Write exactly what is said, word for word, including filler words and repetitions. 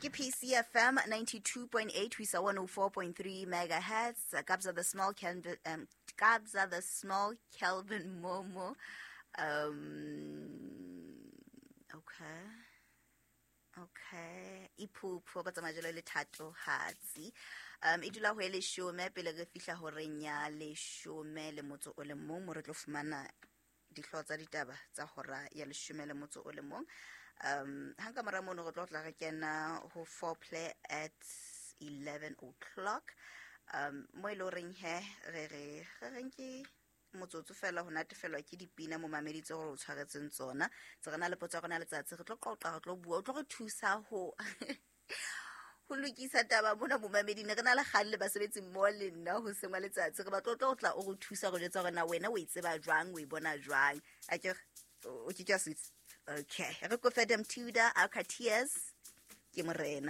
Ke P C F M ninety-two point eight ho isa one oh four point three megahertz. Kabza the Small Kelvin, um, Kabza the Small Kelvin Momo. Um okay. Okay, iphupho ba tsamaya jalo le Thato Hatsi. um e dula ho e leshome pele re fihla horeng ya leshome le motso o le mong, mo re tlo fumana dihlooho tsa ditaba tsa hora ya leshome le motso o le mong. um hang ka mora mono re tlo tla re kena ho foreplay at eleven o'clock, um mo e le horeng he re re re reng ke motsotso fela ho natefelwa ke dipina momamedi tse gore o tshwaretseng tsona. Tse re na le potso ya rona letsatsi, re tlo qoqa, re tlo bua, o tlo re thusa ho ho lokisa taba mona momamedi. Ne re na le kgang le basebetsi mmoho le nna ho sengwa letsatsi, re batla o tlo tla o re thusa go jwetsa hore na wena o e tseba jwang, o e bona jwang. Akere o ke ke suits? Okay, re kofe Dem Tudor, Aqua Tears ke morena.